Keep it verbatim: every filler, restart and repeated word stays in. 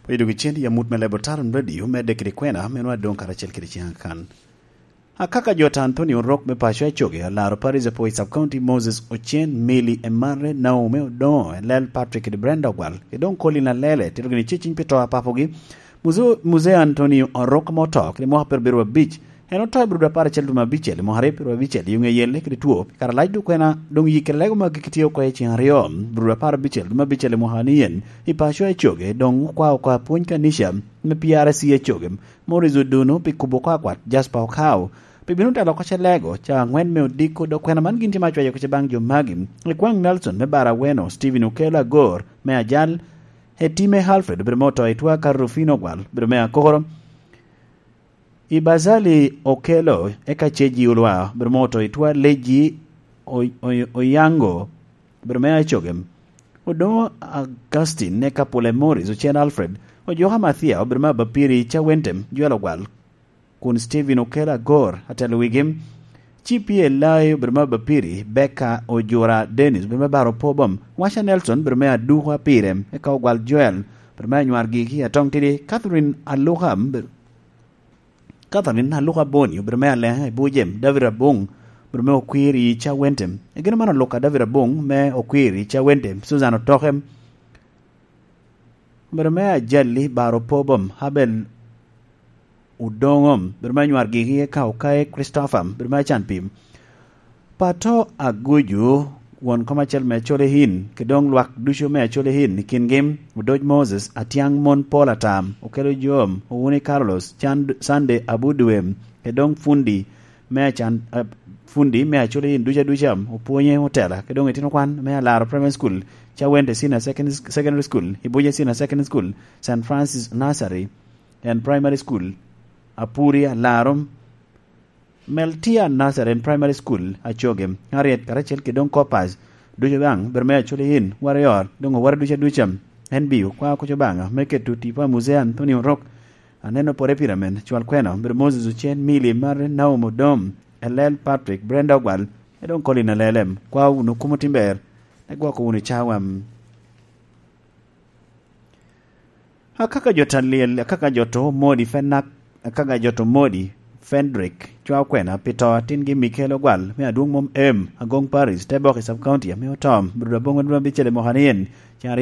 Oyedo kicen i amut me lebo Taron Radio, medde kede kwena, me nwa doŋ karacel kede ciŋ akan. Akaka jot Anthony Orok me paco Acoge, alaro Paris Apo i Sub County, Moses Ocen, Mili Emare, Naomi Odoŋo, Elel Patrick kede Brenda Ogwal, kede doŋ Colin Alele, tito gini ceciny pi to a papogi, Muzo-, Muzee Anthony Orok ame oto kede mwaka perabiro abic, en oto i Burodo apar acel dwe me abicel i mwaka aryo perabicel i ŋe yelle kede two, pi kare alac dok kwena doŋ yik kede lego magi kitye oko i ciŋ aryo, Burodo apar abicel dwe me abicel i mwaka ni en, i paco Acoge, doŋ okwa oko apwony kanica me P R C Acoge, Morris Oduno pi kubo oko akwat, Jasper Okao pi bino telo oko Calego, ca aŋwen me odiko, dok kwena man gin tye ma cwayo oko baŋ jo magi, Ekwang Nelson me Baraweno, Stephen Okello Agor me Ajal, Etime Alfred obedo me oto i Twaka, Rufino Ogwal obedo me Akoro, Ibazali Okello eka Ceji Olwa obedo me oto i Twa, Leji O-, O-, Oyango obedo me Acoge, Odoŋo Augustine eka Pule Morris, Ocen Alfred, Ojoka Mathia obedo me Abapiri, Cawentem Joel Ogwal, kun Stephen Okello Agor atelo wigi. Ci P L I obedo me Abapiri, Becca Ojura Dennis obedo me Baro Pobom, Washa Nelson obedo me Aduko Apire, eka Ogwal Joel obedo me Anywar Gigi Atong Tidi, Catherine Aluka, Catherine Aluka Boni obedo me Aleŋa i Bujem, David Abung obedo me Okwiri Cawentem. Egin man Aluka David Abung me Okwiri Cawentem, Susan Otoke obedo me Ajali Baro Pobom, Abel Odoŋo obedo me Anywar Gigi, eka Okaye Christopher obedo me Acan Pim. Pato Aguju, won kom acel me Acholi Inn, kede doŋ lwak ducu me Acholi Inn, i kingi Odoc Moses, Atiaŋ Mon Paul Atam, Okelo Jom, Owuni Carlos, Can-, Sunday Abudwe, kede doŋ fundi me Acan, eh, fundi me Acholi Inn ducu aduca, Opwonye Otela, kede doŋ itino kwan me Alaro Primary School, Cawente Senior Second-, Secondary School, Ibuja Senior Secondary School, Saint Francis Nursery and Primary School, Apuri Alaro, Meltia Nursery and Primary School, Acoge, Harriet karacel kede doŋ Corpus, ducu baŋ, bedo me Acholi Inn, Warrior, doŋ owara ducu aduca, N B U, kwa kucu baŋ, me keto tipo a Muzee Anthony Orok, aneno pore pira men, cwal kwena, bedo Moses Ocen, Mili Mare, Naomi Odom, Elel Patrick, Brenda Ogwal, e doŋ Colin Alelem, kwa wunu kumo timber, e gwoko wunu cawa. Akaka jo Taliel, akaka jo to Modi Fenak, akaka jo to Modi Fendrick, cwa okwena pi to atingi Mikel Ogwal, me adwoŋ mom em, Agong Paris, te bok i Sub County, ame otom, Bruda Bongo Duma Bicel i Mohanien,